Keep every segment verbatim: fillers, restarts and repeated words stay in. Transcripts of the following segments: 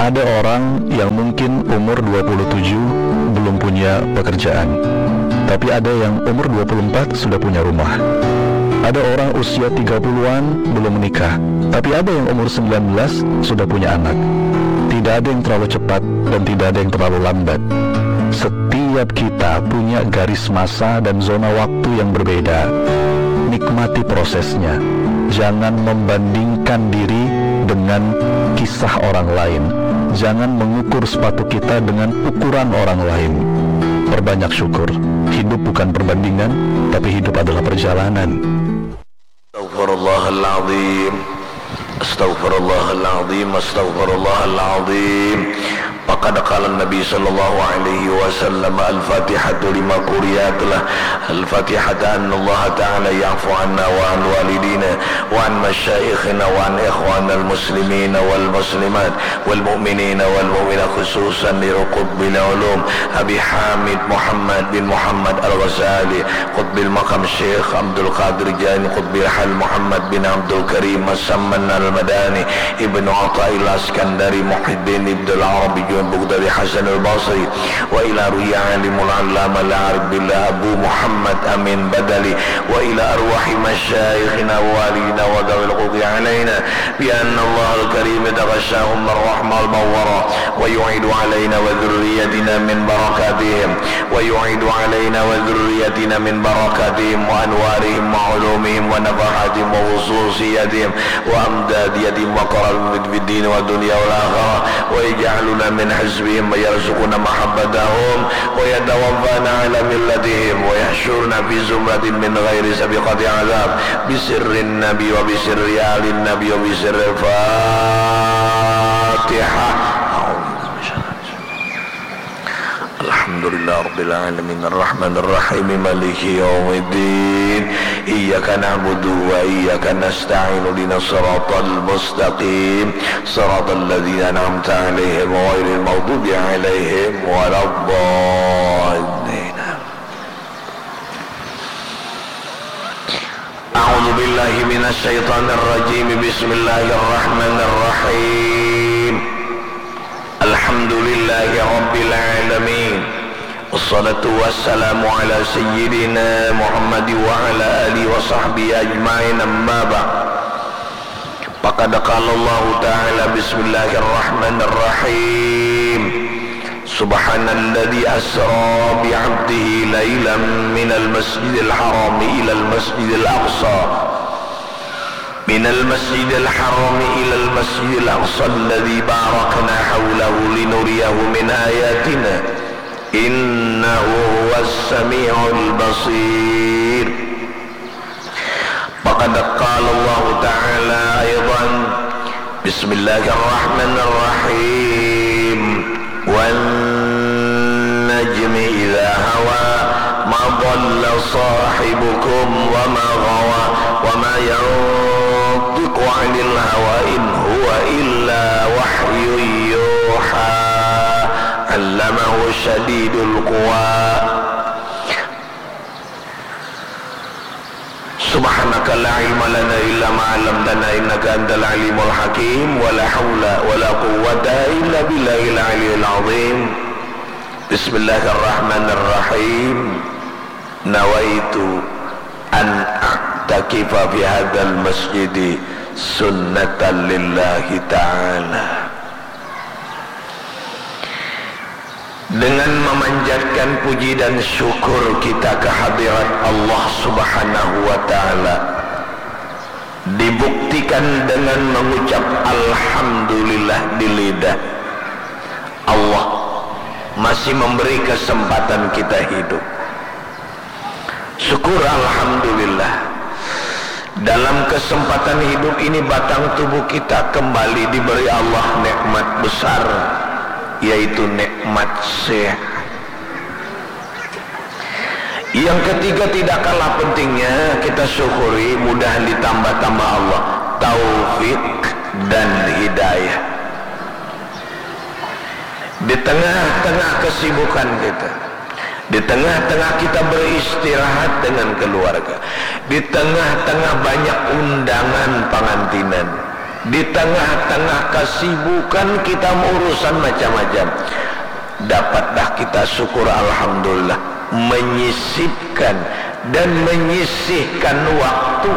Ada orang yang mungkin umur dua puluh tujuh belum punya pekerjaan, tapi ada yang umur dua puluh empat sudah punya rumah. Ada orang usia tiga puluhan belum menikah, tapi ada yang umur sembilan belas sudah punya anak. Tidak ada yang terlalu cepat dan tidak ada yang terlalu lambat. Setiap kita punya garis masa dan zona waktu yang berbeda. Nikmati prosesnya. Jangan membandingkan diri dengan kisah orang lain. Jangan mengukur sepatu kita dengan ukuran orang lain. Perbanyak syukur. Hidup bukan perbandingan, tapi hidup adalah perjalanan. Astaghfirullahaladzim. Astaghfirullahaladzim. Astaghfirullahaladzim. Faqad qala Nabi sallallahu alaihi wasallam, "Al-Fatihatu lima quriyat lah. Al-Fatihata annallaha ta'ala ya'fu anna wa an walidina wa an masyaikhina wa an ikhwanal muslimina wal muslimat wal mu'minina wal mu'minat, khususan li qutbil ulum Abi Hamid Muhammad bin Muhammad Al-Ghazali, qutbil maqam Syekh Abdul Qadir Jain, qutbil hal Muhammad bin Abdul Karim As-Samman Al-Madani, Ibnu Athaillah Iskandari, Muhyiddin Ibnul Arabi Junaid, Baghdadi, Hasan Al-Basri, wa ila ruhi alimul allama al-arif billah Abu Muhammad Amin Badali, wa ila arwahi masyaikhina wa walidina wa dawil quti alaina, bi anna Allah al-karim yataghashahum ar-rahmah al-mawwara, wa yu'idu alaina wa dhurriyatina min barakatihim, wa yu'idu alaina wa dhurriyatina min barakatihim wa anwarihim wa ulumihim wa nafahatihim wa khususiyatihim wa amdadiyatihim wa karamihim fid dini wa dunya wal akhirah, wa yaj'aluna min hizbihim wa yarzuquna mahabbatahum wa yatawaffana ala millatihim wa yahsyurna fi zumratin min ghairi sabiqati azab, bi sirrin nabi wa bi sirri alin nabi wa bi sirril Fatihah. Alhamdulillah Rabbil Alamin, Ar-Rahman Ar-Rahim, Maliki Yawmiddin, Iyyaka na'budu wa iyyaka nasta'in, Ihdinas siratal mustaqim, siratal ladzina an'amta 'alaihim, ghairil maghdubi 'alaihim waladdallin. A'udzu billahi minasy syaithanir rajim. Bismillahirrahmanirrahim. Alhamdulillahi rabbil alamin. Wassalatu wassalamu ala sayyidina Muhammad wa ala alihi wa sahbihi ajmain, amma ba'd. Faqad qala Allahu ta'ala, bismillahirrahmanirrahim. Subhanalladzi asra bi 'abdihi lailan minal masjidil harami ilal masjidil aqsa. Minal masjidil harami ilal masjidil aqsa alladzi barakna haulahu linuriyahu min ayatina. Innahu huwas sami'ul basir. Faqad qala Allahu ta'ala aidan, bismillahirrahmanirrahim. Wan najmi idza hawa, ma dhalla sahibukum wa ma ghawa, wa ma yantiqu 'anil hawa, in huwa illa wahyun yuha. Allamahu syadidul quwa. Subhanaka la ilma lana illa ma 'allamtana innaka antal alimul hakim. Wa la haula wa la quwwata illa billahil aliyyil azim. Bismillahirrahmanirrahim. Nawaitu an a'takifa fi hadzal masjidi sunnatan lillahi ta'ala. Dengan memanjatkan puji dan syukur kita ke hadirat Allah Subhanahu wa Ta'ala, dibuktikan dengan mengucap alhamdulillah di lidah. Allah masih memberi kesempatan kita hidup. Syukur, alhamdulillah. Dalam kesempatan hidup ini, batang tubuh kita kembali diberi Allah nikmat besar, yaitu nikmat sehat. Yang ketiga, tidak kalah pentingnya, kita syukuri mudahan ditambah-tambah Allah taufik dan hidayah. Di tengah-tengah kesibukan kita, di tengah-tengah kita beristirahat dengan keluarga, di tengah-tengah banyak undangan pangantinan, Di tengah-tengah kesibukan kita urusan macam-macam, dapat dah kita syukur, alhamdulillah, menyisipkan dan menyisihkan waktu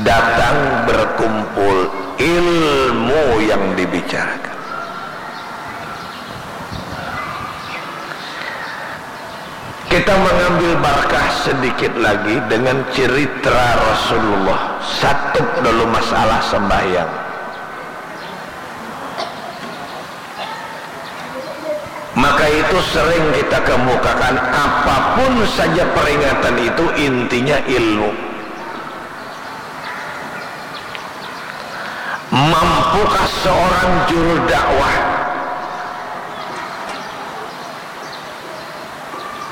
datang berkumpul ilmu yang dibicarakan. Kita mengambil barkah sedikit lagi dengan cerita Rasulullah. Satup dulu masalah sembahyang. Maka itu sering kita kemukakan, apapun saja peringatan itu intinya ilmu. Mampukah seorang juru dakwah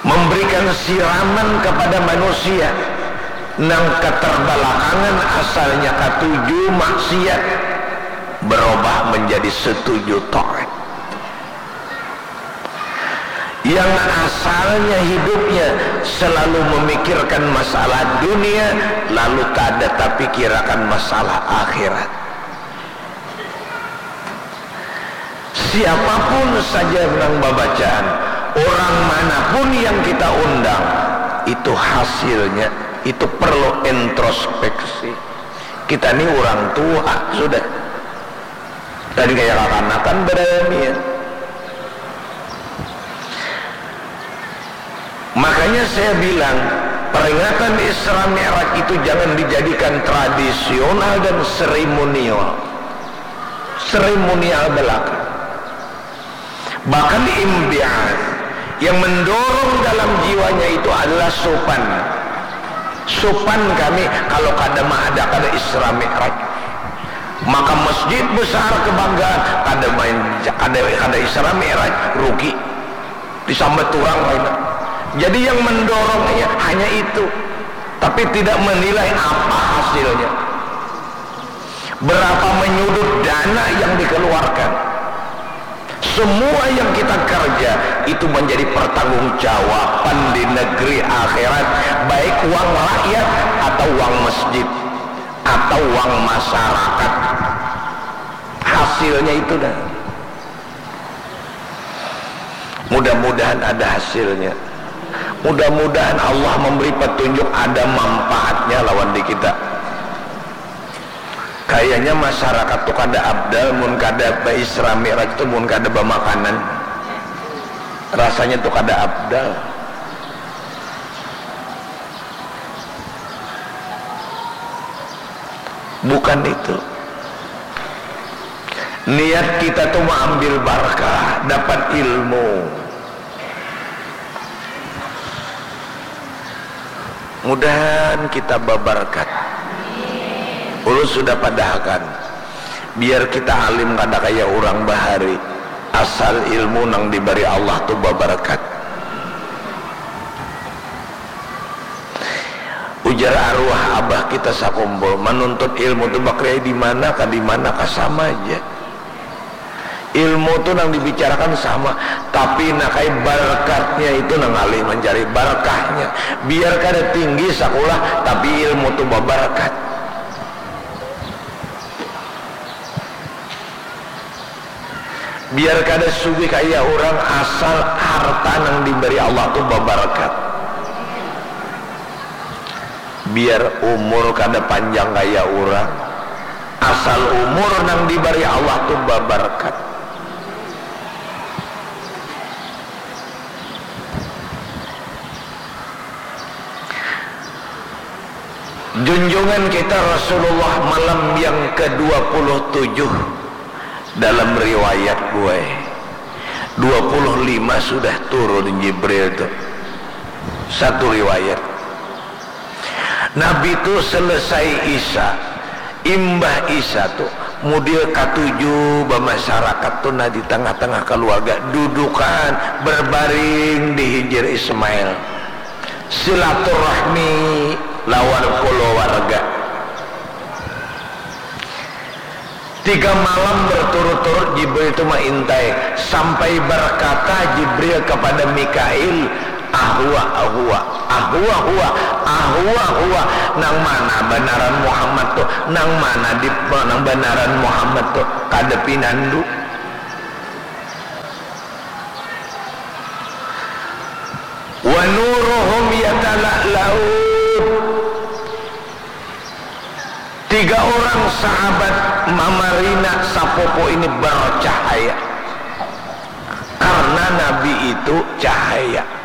memberikan siraman kepada manusia nang keterbelakangan asalnya katuju maksiat berubah menjadi setuju taat? Yang asalnya hidupnya selalu memikirkan masalah dunia, lalu tak ada tapi kirakan masalah akhirat. Siapapun saja nang babacaan, orang manapun yang kita undang, itu hasilnya, itu perlu introspeksi. Kita ni orang tua sudah. Tadi kayak kakanakan berayamian. Makanya saya bilang, peringatan Isra Mi'raj itu jangan dijadikan tradisional dan seremonial. Seremonial belaka. Bahkan imbi'at yang mendorong dalam jiwanya itu adalah supan. Supan kami kalau kada maadakan Isra Mi'raj. Maka masjid besar kebanggaan, kada main, kada, kada Isra Mi'raj, rugi. Disambat orang lain. Jadi yang mendorongnya hanya itu. Tapi tidak menilai apa hasilnya. Berapa menyudut dana yang dikeluarkan. Semua yang kita kerja itu menjadi pertanggungjawaban di negeri akhirat, baik uang rakyat atau uang masjid atau uang masyarakat. Hasilnya itu dah. Mudah-mudahan ada hasilnya. Mudah-mudahan Allah memberi petunjuk ada manfaatnya lawan di kita. Kayaknya masyarakat tu kada abdal mun kada ba Isra Mi'raj tu, mun kada bamakanan. Rasanya tu kada abdal. Bukan itu. Niat kita tu maambil barkah, dapat ilmu. Mudahan kita babarkat. Ulun sudah padahakan, biar kita alim kada kaya urang bahari, asal ilmu nang dibari Allah tu babarkat. Ujar arwah abah kita sakumpul, manuntut ilmu tu bakriai di mana ka di mana ka sama ja. Ilmu tu nang dibicarakan sama, tapi nak ai barkatnya itu nang ngalih mancari barkahnya. Biar kada tinggi sakulah, tapi ilmu tu babarkat. Biar kada sugih kaya urang, asal harta nang dibari Allah tu babarkat. Biar umur kada panjang kaya urang, asal umur nang dibari Allah tu babarkat. Junjungan kita Rasulullah malam yang kedua puluh tujuh dalam riwayat, buai. Dua puluh lima sudah turun Jibril tu. Satu riwayat. Nabi tu selesai Isya, imbah Isya tu, mudil katuju bamasyarakat tu nah di tengah-tengah kaluarga, dudukan, berbaring di hijir Ismail. Silaturahmi lawan kulawarga. Tiga malam berturut-turut Jibril tu maintai, sampai berkata Jibril kepada Mikail, "Ahwa, ahwa." Ahua hua, ahua hua, nang mana banaran Muhammad tu, nang mana di, nang banaran Muhammad tu, kada pinandu. Wa nuruhum yatala'la'u. Tiga orang sahabat mamarina sapopo ini bercahaya. Karena Nabi itu cahaya.